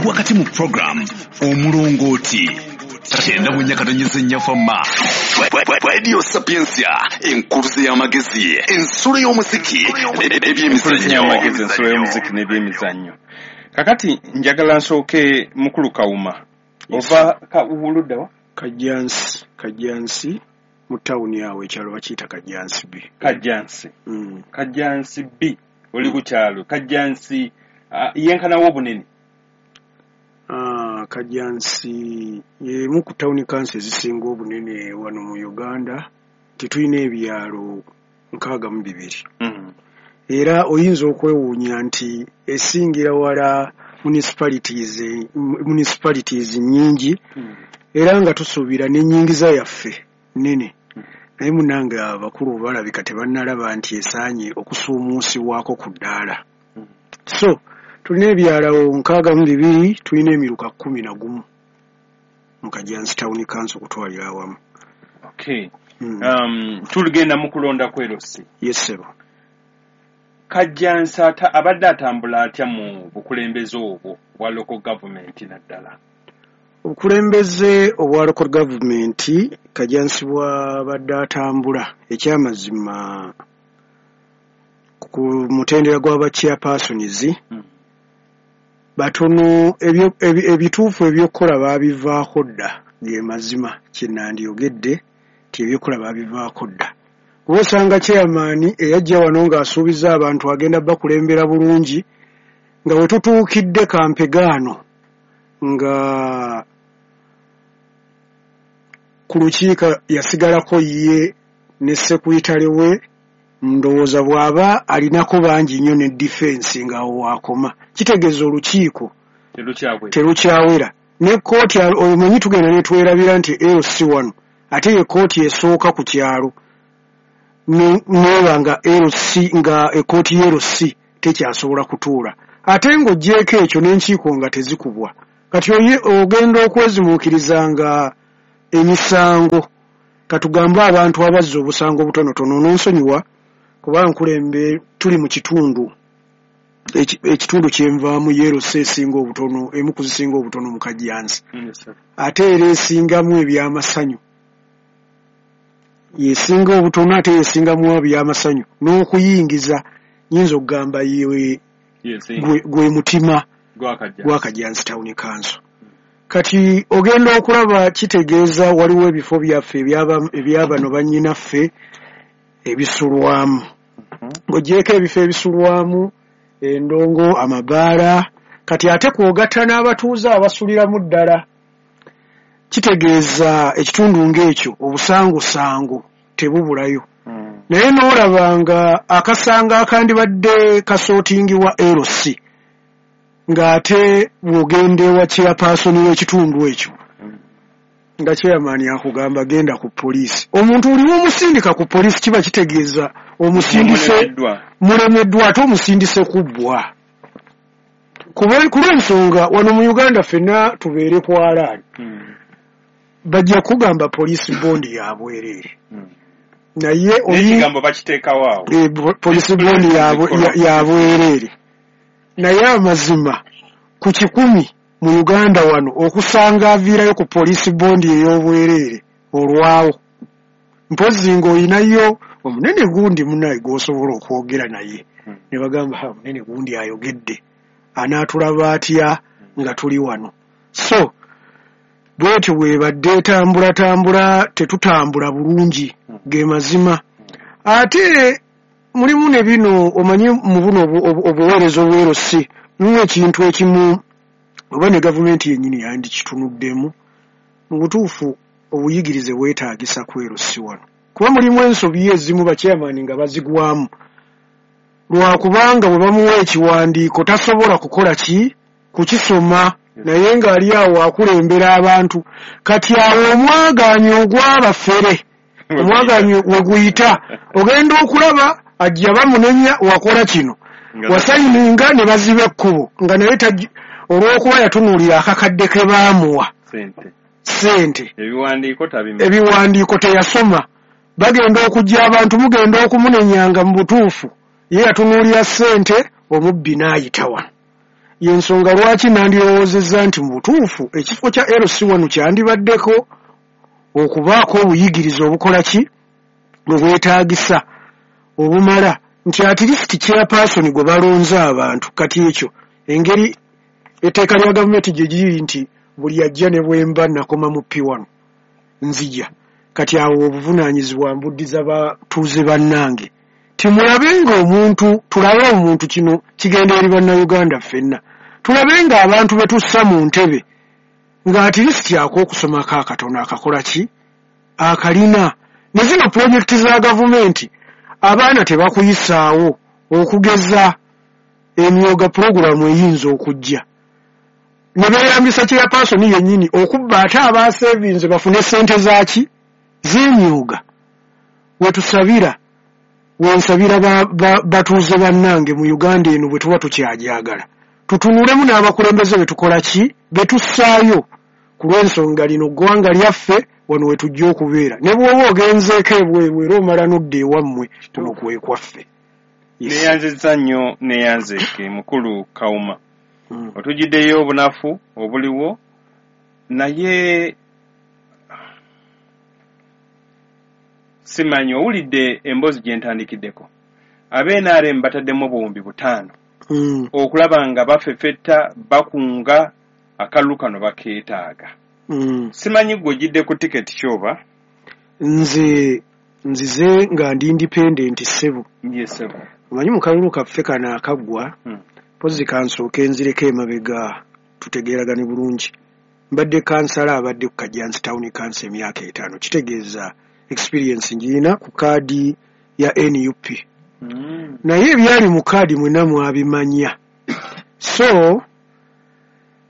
Wakati mu program Omulongooti 94.4 Fama Radio Sapientia, enkuluze y'amagezi, ensulo y'omuziki n'ebyemizannyo. Amagezi, ensulo y'omuziki n'ebyemizannyo. Kakati njagala nsooke mukulu Kawuma. Ova ludda wa? Kajjansi, Kajjansi mu tawuni awo ekyalo bakiyita Kajjansi B. Kajjansi. Kajjansi B. Oli ku kyalo Kajjansi yenkanawo obunene? Kajjansi y'emu ku tawuni kanso ezisinga obunene wano mu Uganda. Tetulina ebyalo 62. Era oyinza okwewuunya nti esingira wala municipalities nnyingi, era nga tusuubira n'ennyingiza yaffe nnene. Naye munnange abakulu balabika tebannalaba nti esaanye okusuumuusibwako ku ddaala. So tulina ebyalo 62, tulina emiruka 11 mu Kajjansi Town Council okutwalira awamu. Okay. Tuligenda mu kulonda kw'erosi. Yes, ssebo. Kajjansi abadde atambula atya mu bukulembeze obwo bwa local government naddala? Obukulembeze obwa local government Kajjansi bw'abadde atambula, ekyamazima ku mutendera gw'aba chairpersons batono, ebituufu ebyokukola baabivaako dda. Ge mazima kye nandiyogedde nti ebyokukola baabivaako dda. Kuba osanga chairman eyajja wano ng'asuubiza abantu agenda bakulembera bulungi, nga we tutuukidde kampegaano nga ku lukiiko yasigalako ye ne sekuritale we, ndowooza bw'aba alinako bangi nnyo ne defense ng'awo waakoma. Kitegeeza olukiiko terukyawera. Ne kkooti omanyi tugenda ne twerabira nti LC wano ate ye kkooti esooka ku kyalo, neeba nga LC, nga ekkooti ye LC tekyasobola kutuula. Ate ng'oggyeeko ekyo n'enkiiko nga tezikubwa. Kati ogenda okwezimuukiriza nga emisango, katugambe abantu abazza obusango obutonotono, n'onsonyiwa kuba nkulembe tuli mu kitundu ekitundu kyenvaamu ye LC esinga obutono, emu ku zisinga obutono mu Kajjansi. Ate era esingamu ebyamasanyu, yesinga obutono ate yesingamu ebyamasanyu n'okuyingiza, nyinza okugamba gwe mutima gwa Kajjansi Town Council. Kati ogenda okulaba kitegeeza waliwo ebifo byaffe ebyabano bannyinaffe ebisulwamu. Ng'oggyeeko ebifo ebisulwamu, endongo, amabaala, kati ate kw'ogatta n'abatuuze abasuliramu ddala, kitegeeza ekitundu ng'ekyo obusangosango tebubulayo. Naye n'olaba nga akasango akandibadde kasootingibwa LC, ng'ate bw'ogenda ewa chairperson w'ekitundu ekyo, nga chairman akugamba genda ku poliisi. Omuntu oli omusindika ku poliisi kiba kitegeeza omusindise mulemeddwa, ate omusindise kubbwa. Ku lw'ensonga wano mu Uganda ffenna tubeere ku alaali, bajja kugamba poliisi bondi ya bwereere. Naye ekigambo bakiteekawo awo. Poliisi bondi ya bwereere. Naye amazima ku 100 mu Uganda wano okusanga aviirayo ku poliisi bondi ey'obwereere olwawo. Mpozzi ng'olinayo omunene gundi munnaye gw'osobola okwogera naye. Ne bagamba ha munene gundi ayogedde, anaatulaba atya nga tuli wano. So bwetyo bwebadde etambulatambula, tetutambula bulungi, ge mazima. Ate mulimu ne bino omanyi mu buno obuweereza obwerosi, mulimu ekintu ekimu oba ne gavumenti yennyini yandikitunuddemu. Mu butuufu obuyigirize bwetaagisa kwerosi wano, kuba mulimu ensobi ezimu bachairman nga bazigwamu lwakubanga bwe bamuwa ekiwandiiko tasobola kukola ki kukisoma, naye ng'ali awo akulembera abantu. Kati awo omwagaanyi ogw'abafere, omwagaanyi we guyita, ogenda okulaba ajja bamunenya wakola kino, wasayininga ne baziba ekkubo, nga naye olw'okuba yatunuulira akakadde ke baamuwa ssente, ebiwandiiko teyasoma. Bagenda okujja abantu mugenda okumunenyanga mu butuufu ye yatunuulira ssente, omubbi n'ayita wano. Yensonga lwaki nandirowoozezza nti mu butuufu ekifo kya LC1 kyandibaddeko okubaako obuyigirize obukola ki obwetaagisa obumala, nti at least chairperson gwe balonze abantu. Kati ekyo engeri etteeka lya gavumenti gye giri nti buli ajja ne bwemba nakoma mu P1 nzija, kati awo obuvunaanyizibwa mbuddiza batuuze bannange, timulabe nga omuntu, tulabe omuntu, kino kigenda eri bannayuganda ffenna, tulabe nga abantu be tussa mu ntebe nga at least ak'okusomako akatono akakola ki akalina. Ne zino pulojekiti za gavumenti abaana tebakuyisaawo, okugeza emyoga pulogulaamu eyinza okujja ne beeyambisa chairperson yennyini okubba ate abaaseevinze bafune ssente zaaki z'emyoga. Wetusabira, wensabira batuuze bannange mu Uganda eno bwe tuba tukyagyagala, tutunulemu n'abakulembeze be tukola ki be tussaayo, ku lw'ensonga lino ggwanga lyaffe wano we tujja okubeera. Ne bw'oba ogenzeeko ebweru era omala n'odda ewammwe, kuno kwe kwaffe. Neeyanzizza nnyo, neeyanzeeke mukulu Kawuma. Otujjiddeyo obunafu obuliwo, naye simanyi owulidde emboozi gye ntandikiddeko. Ab'NRM bataddemu 5,000 okulaba nga bafefetta, bakunga akalulu kano bakeetaaga. Simanyi gwe ojjidde ku tiketi kyoba? Nze nzize nga ndi independent ssebo. Yes ssebo. Omanyi mu kalulu kaffe kano akaggwa, mpozi kansooke nzireko emabega tutegeeragane bulungi. Mbadde kansala abadde ku Kajjansi Town Council emyaka 5, kitegeeza experience ngirina ku kaadi ya NUP. Naye ebyali mu kaadi mwenna mwabimanya. So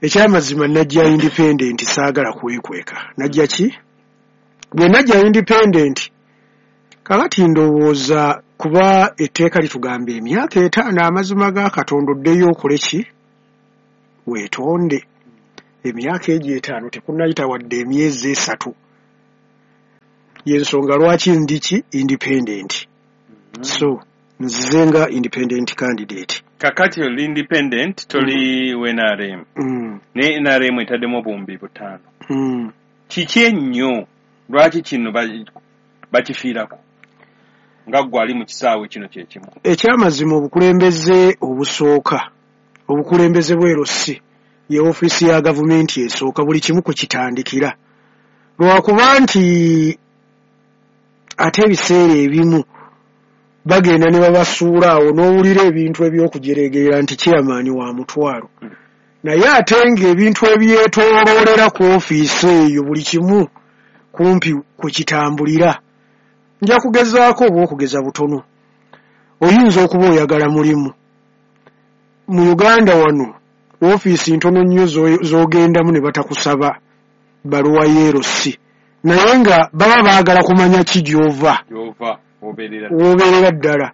ekyamazima najja independent, saagala kwekweka. Najja ki? Bwe najja independent, kakati ndowooza kuba etteeka litugamba emyaka 5 amazima ga Katonda oddeyo okole ki? Weetonde. Emyaka egyo 5 tekunnayita wadde emyezi 3. Y'ensonga lwaki ndi ki independent. So nzize nga independent candidate. Kakati oli independent, toli NRM. Naye NRM etaddemu 5,000. Kiki ennyo lwaki kino bakifiirako nga ggwe ali mu kisaawe kino kye kimu? Ekyamazima obukulembeze obusooka, obukulembeze bw'e LC ye ofiisi ya gavumenti esooka, buli kimu kwe kitandikira. Lwakuba nti ate ebiseera ebimu bagenda ne babasuula awo n'owulira ebintu ebyokujeregerera nti chairman wa mutwalo, naye ate ng'ebintu ebyetooloolera ku ofiisi eyo buli kimu kumpi kwe kitambulira. Nja kugezaako oba okugeza butono. Oyinza okuba oyagala mulimu mu Uganda wano, ofiisi ntono nnyo z'ogendamu ne batakusaba bbaluwa y'erosi, naye nga baba baagala kumanya ki gy'ova w'obeerera ddala.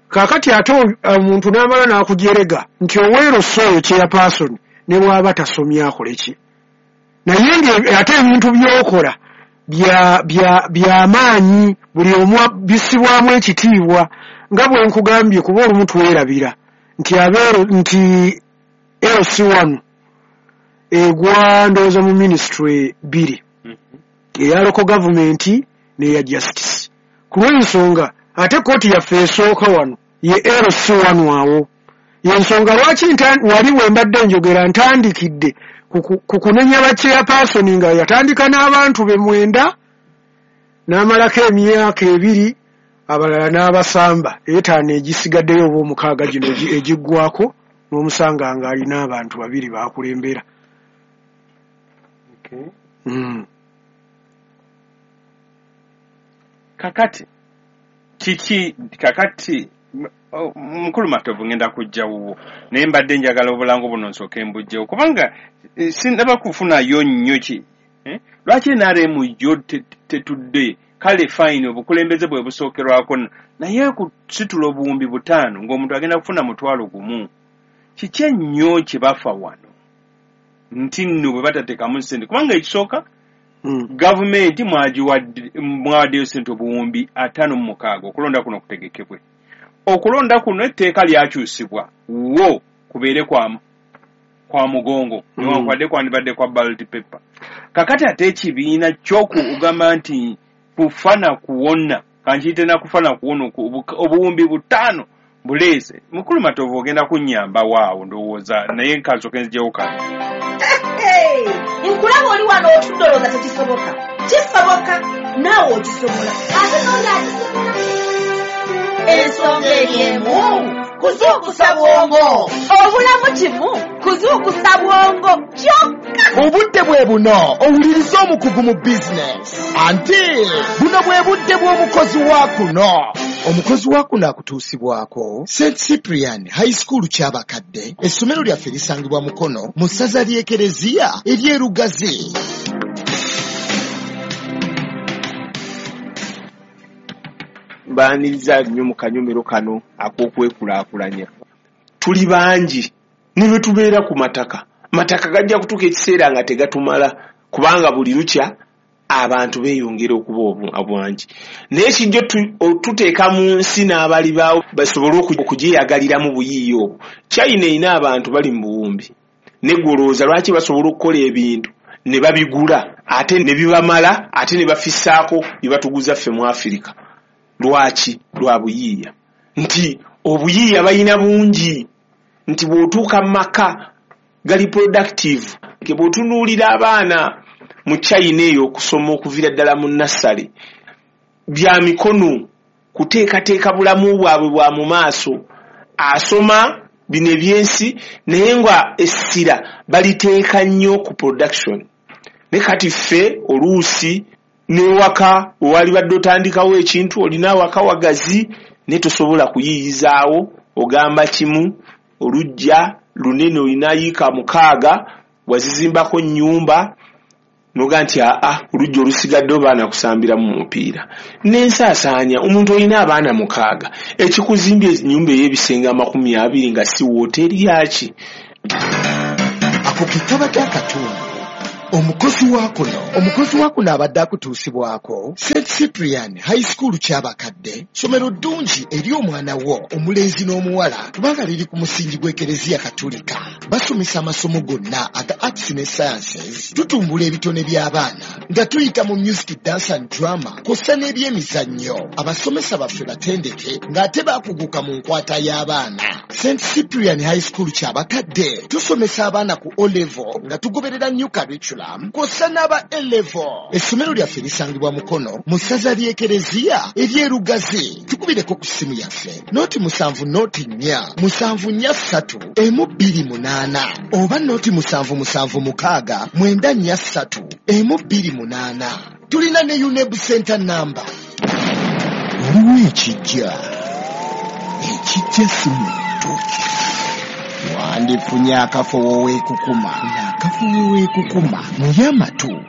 Kaakati ate omuntu n'amala n'akujerega nti oweerosi oyo chairperson ne bw'aba tasomye akole ki, naye nga ate ebintu by'okola byamaanyi, buli omu bissibwamu ekitiibwa. Nga bwe nkugambye, kuba olumu twerabira nti nti LC1 egwa ndowooza mu minisitule 2, eya local government n'eya justice. Ku lw'ensonga ate kkooti yaffe esooka wano ye LC1 awo. Y'ensonga lwaki wali we mbadde njogera ntandikidde ku kunenya ba chairperson nga yatandika n'abantu be 9 n'amalako emyaka 2, abalala n'abasamba 5 egisigaddeyo oba 6 gino egiggwako, n'omusanga ng'alina abantu 2 baakulembera. Kakati kiki kakati mukulu Matovu ngenda kujja wuwo, naye mbadde njagala obulango buno nsooke mbugyewo kubanga sinnaba kufunayo nnyo ki lwaki NRM yo tetudde. Kale fine, obukulembeze bwe busookerwako, naye kusitula 5,000 ng'omuntu agenda kufuna 1,000, kiki ennyo kye bafa wano nti nno bwe batateekamu ssente? Kubanga ekisooka gavumenti mwawaddeyo ssente 56,000 okulonda kuno kutegekebwe. Okulonda kuno etteeka lyakyusibwa wo kubeere kwa Kwa mugongo, newankubadde kwandibadde kwa ballot paper. Kakati ate ekibiina ky'okugamba nti kufa na kuwona, kankiyite na kufa na kuwona, obuwumbi 5 buleese. Mukulu Matovu ogenda kunnyamba waawo ndowooza, naye nkansooke nzijewo kano. Nkulaba oli wano otudde olowooza tekisoboka. Kisoboka, naawe okisobola. Ate n'oli akisobola. Ensonga eri emu, kuzuukusa bwongo. Obulamu kimu, kuzuukusa bwongo kyokka. Obudde bwe buno owuliriza omukugu mu bizinesi. Anti buno bwe budde bw'omukozi wa kuno. Omukozi wa kuno akutuusibwako St Cyprian High School Kyabakadde. Essomero lyaffe lisangibwa Mukono mu ssaza ly'Ekereziya ery'e Lugazi. Mbaaniriza nnyo mu kanyomero kano ak'okwekulaakulanya. Tuli bangi ne bwe tubeera ku mataka. Mataka gajja kutuuka ekiseera nga tegatumala, kubanga buli lukya abantu beeyongera okuba obwangi. Naye kijja tuteeka mu nsi n'abali baawo basobole okugyeyagaliramu buyiiya obwo. China erina abantu bali mu buwumbi. Ne ggwe olowooza lwaki basobola okukola ebintu ne babigula ate ne bibamala ate ne bafissaako bye batuguza ffe mu Afirika? Lwaki? Lwa buyiiya. Nti obuyiiya balina bungi, nti bw'otuuka mu maka gali productive. Bw'otunuulira abaana mu China eyo okusoma okuviira ddala mu nursery, bya mikono, kuteekateeka bulamu bwabwe bwa mu maaso. Asoma bino ebyensi naye nga essira baliteeka nnyo ku production. Naye kati ffe oluusi n'ewaka wewali badde otandikawo ekintu, olina awaka wagazi naye tosobola kuyiiyizaawo, ogamba kimu oluggya lunene olina yiika 6 wazizimbako nnyumba noga nti aa oluggya olusigadde abaana kusambiramu mupiira. N'ensaasaanya omuntu olina abaana 6 ekikuzimbye ennyumba ey'ebisenge 20 nga si wooteeri yaki. Ako ke kabadde akatundu. Omukozi wa kuno, omukozi wa kuno abadde akutuusibwako St Cyprian High School Kyabakadde, ssomero ddungi eri omwana wo omulenzi n'omuwala kubanga liri ku musingi gw'Ekereziya Katolika. Basomesa amasomo gonna aga arts ne sciences, tutumbula ebitone by'abaana nga tuyita mu music, dance and drama kw'ossa n'ebyemizannyo. Abasomesa baffe batendeke ng'ate baakuguka mu nkwata y'abaana. St Cyprian High School Kyabakadde tusomesa abaana ku O level nga tugoberera new curriculum kw'ossa n'aba A level. Essomero lyaffe lisangibwa Mukono mu ssaza ly'Ekereziya ery'e Lugazi. Tukubireko ku ssimu yaffe 07 04 743 128 oba 0776 943 128. Tulina ne UNEB Center number. Waliwo ekijja, ekijja si muntu. Wandifunye akafo weekukuma, akafo weekukuma naye amatu.